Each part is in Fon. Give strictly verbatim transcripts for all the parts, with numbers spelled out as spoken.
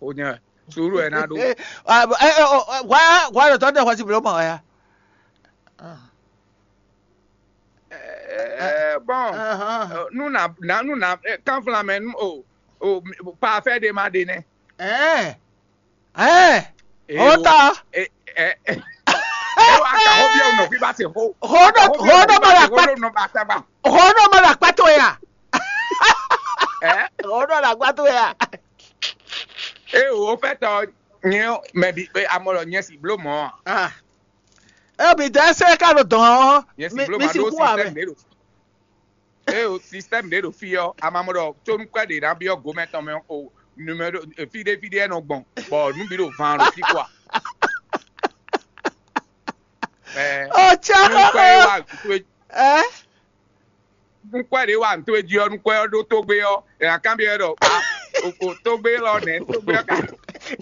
Xó nyɛ wɛ. Sùúrù wɛ ná ɖó. Hwa hwa ɖo tɔ́ ɖe hwɛsi bló mɔ wɛ ya. Bɔn nú nà nú nà kánflamɛ nú o o pafɛ ɖe ma ɖe nɛ. Ɛɛ ɛɛ o ta. Ewɔ aka xó biɛ nɔ fi ba se xó. Xó ɖɔ xó ɖɔ ma la kpá xó ɖɔ ma la kpá tó ya. Xó ɖɔ la kpá tó ya. E o fɛ tɔ nyɛ mɛ bi amɔ lɔ nyɛ si blo mɔ. E mi dɛ sɛ ka ɖo dɔn ɔ. Nyɛ si blo ma ɖo système ɖe ɖo. E o système ɖe ɖo fi ɔ amamɔ ɖɔ tsónúkwɛ ɖe ná byɔ gomɛ tɔn mɛ o numéro fi ɖé fi ɖé nɔ gbɔn bɔ nú bi ɖo van ɖo fi kɔ. Ɔ tsɛ xɔxɔ. Ɛ. Nukpɛ ɖé wa nto e jí ɔ nukpɛ ɔ ɖó tógbé ɔ ɛ akanbi ɛ ɖɔ a o tógbé lɔ nɛ tógbé ɔ ka.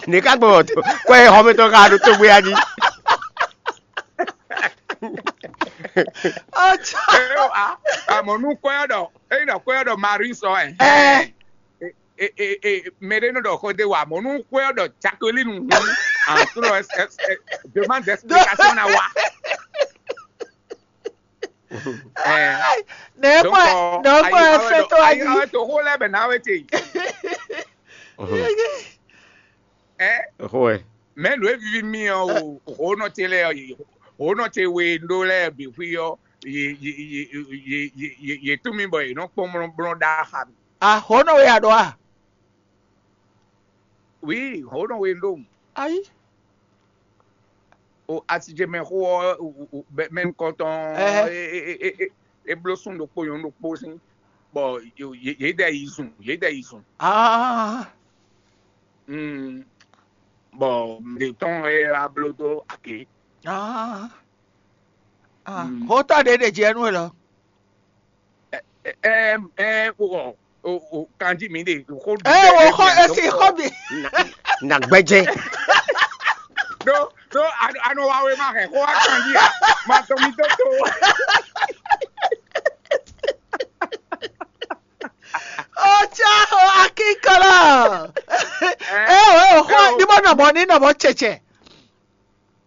Ne ka gbɔ wɔ to kɔ ɛ xɔmɛtɔ ka ɖo tógbé a jí. Ɔtsɔ. Ɛ o a amɔ nukpɛ ɔ ɖɔ eyi nɔ kpɛ ɔ ɖɔ Marie sɔ ɛ. Ɛ. E e e mɛ ɖé nɔ ɖɔ xɔ de wa mɔ nukpɛ ɔ ɖɔ Jacqueline hu. Antro ɛ ɛ demande d'explication na wa. Nɛ̌ kɔ nɛ̌ kɔ ɛ fɛ́ tɔ́ wá jí? Ayi to xó lɛ́ bɛ ná wé te. Ɛ Xó ɛ. Mɛ nǔ e vivi mì ɔ o xó nɔ ce lɛ ɔ xó nɔ ce we ɖó lɛ bǐ xwí ɔ yě yě yě yě yě yě tún mì bɔ yě nɔ kpɔ́n blɔ́blɔ́ ɖá xa mì. Axɔ́ nɔ wɛ a ɖɔ a? Wǐ xó nɔ we ɖó. Ayi. O asijemɛ xó ɔ mɛ nukɔntɔn é bló sún ɖokpó nyɔ̌nu ɖokpó sín bɔ yě ɖɛ yi zun yě ɖɛ yi zun. Bɔ ɖě tɔn é wá bló dó agě. Xótɔ́ ɖě ɖe jɛ nú we lɔ. Ɛ ɛ o o kanjí mi ɖe xó. Ɛ wo xɔ esi xɔ mi. Na gbɛjɛ. Ɖó ɖó anɔ wa wé ma hɛn xó wá kanjí a ma tɔn mi tó tó. Ó tsá o akínkɔlɔ. Ɛ o ɛ o xɔ ní bɔ nɔmɔ ní nɔmɔ tsɛtsɛ.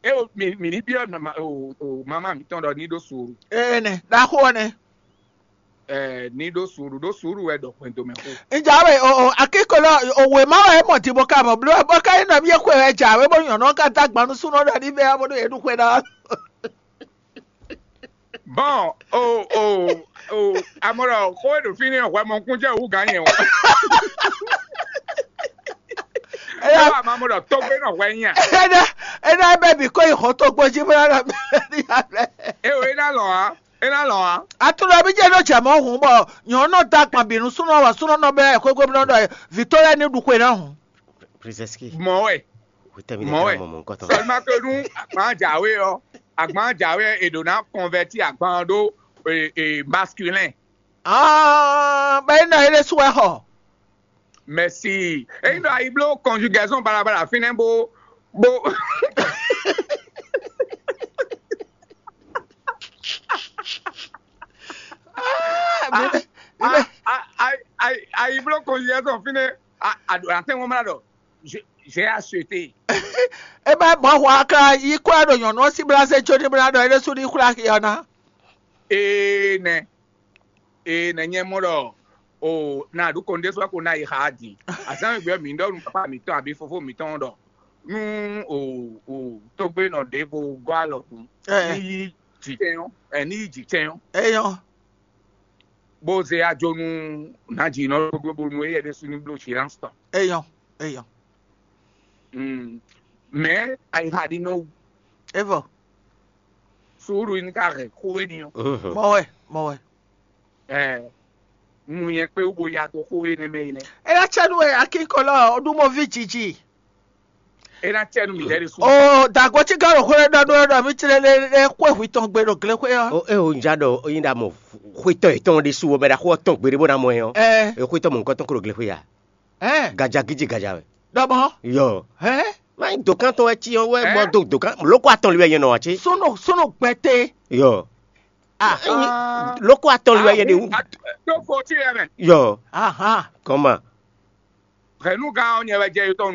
E o mi mi ní byɔ́ mama o o mama mǐtɔn ɖɔ ní ɖó suuru. Ene ɖaxó ɔ́ nɛ́. Ɛ ní ɖó suuru ɖó suuru wɛ ɖɔ hwɛndo mɛ xó. Ǹjẹ́ àwẹ̀ o o akíkolo òwe má wà é mọ̀ tí mo ká mọ̀ bló bó ká yín nɔ mí é kó ẹ̀ jà wé bó nyɔ̀nà ká dá gbanú súnú ọ̀dà níbẹ̀ á bó ɖó yẹn dúpẹ́ náà. Bɔn o o o amɔlɔ xó e ɖo fínɛ́ hwɛ mɔkúnjɛ wú gǎn nyɛ o. Ela ma mo ɖɔ tógbé nɔ hwɛ nyí a. Ena ena bɛ bi ko yi xɔ tógbó jí bó yára bɛ ní yá bɛ. E o ena lɔ a ena lɔ a. Atunɔ bí jẹ́ ló jẹ́ mọ́ hùn bɔ nyɔ̌nu da gbɔn bínú súnú wà súnú nɔ bɛ xwégbé nɔ ɖɔ vǐtó lɛ ní ɖu xwe náà hùn. Princess Key. Mɔ wɛ. Witemi de Mɔ wɛ. Kan mɔ mɔ nkɔtɔ. Seulement que nous, agban jawe ɔ, agban jawe e ɖo na converti agban ɖo e e masculin. Ah, bɛ ina ele suwɛ xɔ. Merci. Eyi nɔ ayi blo conjugaison balabala fínɛ́ bó bó. Ayi blo conjugaison fínɛ́. Atɛ́nwó mla ɖɔ j'ai acheté. E bɛ mɔ hwa ka yi kɔ ɖo nyɔnu ɔ́ sí bla se tso ní bla ɖɔ é ɖésú ní xwlá xi ɔ́ ná. Ee nɛ ee nɛ nyɛ mɔ ɖɔ o na ɖu kɔn ɖésú ko na yi xa din azán gbɛ mi ɖɔ nu papa mitɔn abi fofo mitɔn ɖɔ nu o o togbe nɔ ɖevo gɔ alɔ kun ní yi jitɛn ɔ ɛ ní yi jitɛn ɔ. Eyɔn. Bó zé ajo nú nǎjínɔ ɖokpó bónú éyɛ́ ɖésú ní bló silence tɔn. Eyɔn, eyɔn. Mɛ ayixa ɖi nɔ wu. Evɔ. Suúlu ní ká hɛn xó éní ɔ́. Mɔ wɛ, mɔ wɛ. Ɛ nu nyɛ kpé wú bo ya dó xó énɛ́ mɛ é nɛ́. É ná cɛ nú wɛ akínkɔlɔ ɖúmɔví jiji. É ná cɛ nú mǐ lɛ́ ɖésú. O dàgbò tí gán ɖo xwé ɖɔ ɖó ɖɔ mí tlé lé lé xwé hwi tɔn gbe ɖo glé xwé ɔ́. O é o nja ɖɔ o nyi ɖa mɔ xwétɔ yětɔn ɖésú o mɛ ɖa xó ɔ́ tɔn gbeɖé bó ná mɔ ɛ ɔ́. Ɛ. E xwétɔ mɔ nukɔn tɔn kó ɖo glé xwé ya. Ɛ. Gaja gíjí gaja wɛ. Ɖɔmɔ. Yɔ. Ɛ. Má nyí dòkan tɔn wɛ tí ɔ́n wɛ Ɛ. Mɔ dó dòkan lókó atɔn li wɛ nyɛ nɔ wá tí. Súnù súnù gbɛtɛ. Yɔ. Ah. Lókó atɔn li wɛ nyɛ ɖe wú. Tó fo tí yɛ mɛ. Yɔ. Ahan. Kɔma. Hɛnúgán ɔ́ nyɛ wɛ jɛ yotɔn